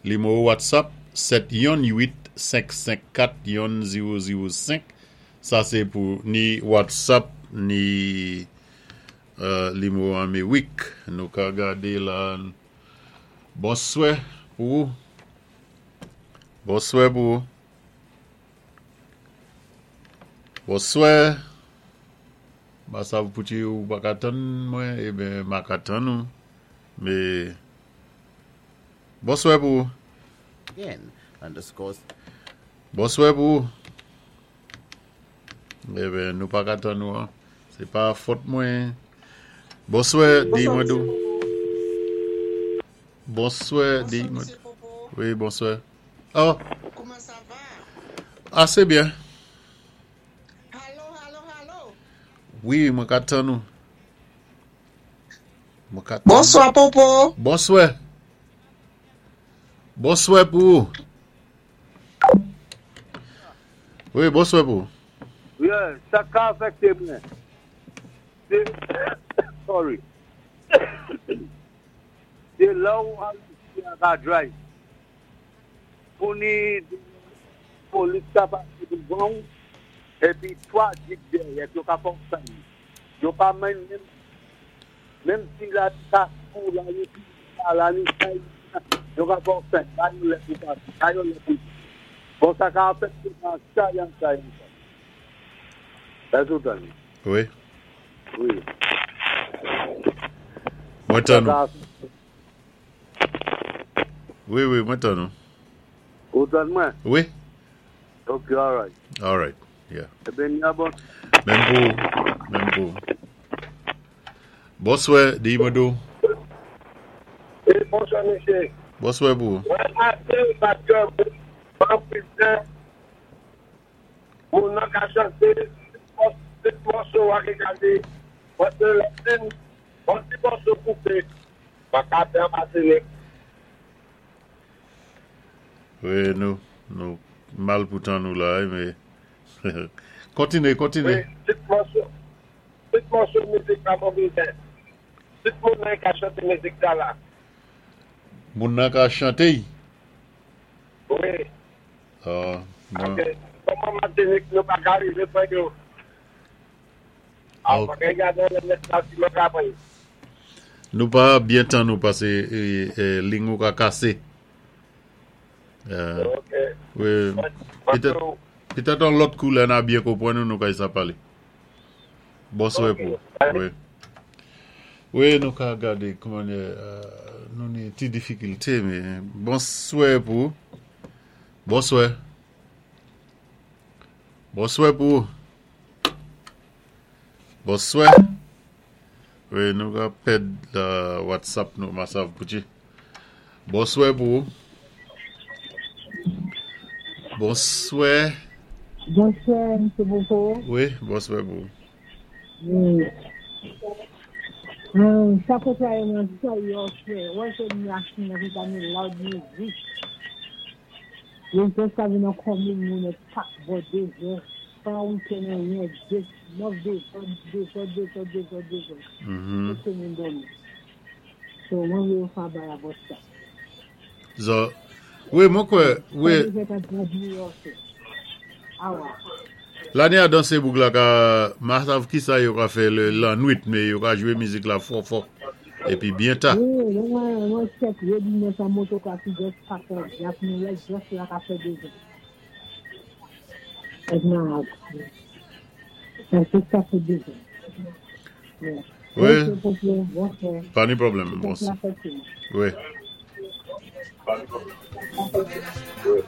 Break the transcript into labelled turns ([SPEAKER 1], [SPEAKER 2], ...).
[SPEAKER 1] Nimewo WhatsApp 7 yonn 8 5 5 4 yonn 0 0 5 sa sé pou ni WhatsApp ni nimewo Amerik. Nou ka gadé la. Bonswè pou ou. Bonswè pou ou. Bonswè. M pa sav pouki ou pa ka tann mwen, eben m a ka tann ou. Mé bonswè pou ou. Bonswè pou ou. Eben nou pa ka tann ou an. Se pa fòt mwen. Bonswè, di
[SPEAKER 2] Bonswa
[SPEAKER 1] mwen
[SPEAKER 2] mesye
[SPEAKER 1] dou.
[SPEAKER 2] Popo.
[SPEAKER 1] Bonswè, di
[SPEAKER 2] Bonswa
[SPEAKER 1] mwen.
[SPEAKER 2] mesye Popo.
[SPEAKER 1] Wi, bonswè. Oh,
[SPEAKER 2] Kouman sa va?
[SPEAKER 1] ase byen.
[SPEAKER 2] Halo, halo, halo.
[SPEAKER 1] Wi, mwen ka tann ou. Mwen ka tann ou.
[SPEAKER 2] Bonswa Popo.
[SPEAKER 1] Bonswè. Bonswè pou ou. Wi, bonswè pou ou.
[SPEAKER 3] Yeah, sa ka afekte mwen. Se, sorry. Se lè ou al ka drive. Pou ni polis ka pase devan ou, epi 3 jeep dèyè, yo ka fè ou tann. Yo pa menm menm menm si la ka sou la yo pi la ni sa yo ka fè ou tann. Ba yo lè pou pase, ba yo lè pou. Bon, sa ka afekte nan sa yan sa yan sa. Èske ou tann?
[SPEAKER 1] Wi.
[SPEAKER 3] Wi.
[SPEAKER 1] Mwen
[SPEAKER 3] Sa
[SPEAKER 1] tann
[SPEAKER 3] ka
[SPEAKER 1] ou.
[SPEAKER 3] afekte.
[SPEAKER 1] Wi, wi, mwen tann ou.
[SPEAKER 3] Ou tann mwen?
[SPEAKER 1] Wi.
[SPEAKER 3] Ok, alright.
[SPEAKER 1] All right. Yeah.
[SPEAKER 3] Eben, ya bon.
[SPEAKER 1] Menm pou ou. Menm pou ou. Bonswè, di mwen dou.
[SPEAKER 4] E bonswa mesye.
[SPEAKER 1] Bonswè pou ou.
[SPEAKER 4] Mwen ase paske mwen prizè moun nan ka chante tout mòso a ki ka di paske lè fin on ti mòso koupe pa ka fè an Matinik.
[SPEAKER 1] Wi, nou, nou mal pou tan nou la, men kontinye, kontinye.
[SPEAKER 4] Wi, tout mòso, tout mòso mizik la mwen bezwen. Tout moun nan ka chante mizik sa la.
[SPEAKER 1] Moun nan ka chante y?
[SPEAKER 4] Wi.
[SPEAKER 1] Ah, mwen.
[SPEAKER 4] Paske kòman Matinik nou pa ka rive pran yo. Ah,
[SPEAKER 1] Ok.
[SPEAKER 4] pa ka gade lè mèt la si mwen ka pran yo.
[SPEAKER 1] Nou pa byen tann ou pase ling ou ka kase.
[SPEAKER 4] Ok.
[SPEAKER 1] Wi, petèt, petèt an lòt kou lè na byen konprann ou nou ka sa pale. Bonswè pou ou. Wi. Wi, nou ka gade kouman nou ni ti difikilte men bonswè pou ou. Bonswè. Bonswè pou ou. Bonswè. Wi, nou ka pèd la WhatsApp nou masav pouchi. Bonswè pou ou. Bonswè.
[SPEAKER 5] Bonswè, M. Popo.
[SPEAKER 1] Wi, bonswè pou ou.
[SPEAKER 5] Wi. Sa kontraye mwen sa yo fè. Wè se machin nan ki ta ni loud music. Yo just ka vin nan komin moun e pak bò dezè. Pa weekend anyen, de, 9 dezòd, dezòd, dezòd, dezòd, dezòd. Tout moun dòmi. So, mwen vle yo fè bay about sa.
[SPEAKER 1] Zo, wi, mwen kwè, wi.
[SPEAKER 5] Sa deja ta bad New York. Awa.
[SPEAKER 1] Lani a danse boug la ka, ma sav ki sa yo ka fè le lannwit, men yo ka jwe mizik la fò fò. Epi byen ta.
[SPEAKER 5] Wi, mwen check readiness an moto ka ki just pak la, jak nou lè just la ka fè dezòd. Ek nan, sa se sa fè dezòd. Yeah.
[SPEAKER 1] Wi.
[SPEAKER 5] Ok, Popo, bonswa.
[SPEAKER 1] Pa ni pwoblèm,
[SPEAKER 5] Tout
[SPEAKER 1] bonswa.
[SPEAKER 5] la fè tou.
[SPEAKER 1] Wi.
[SPEAKER 4] Wi.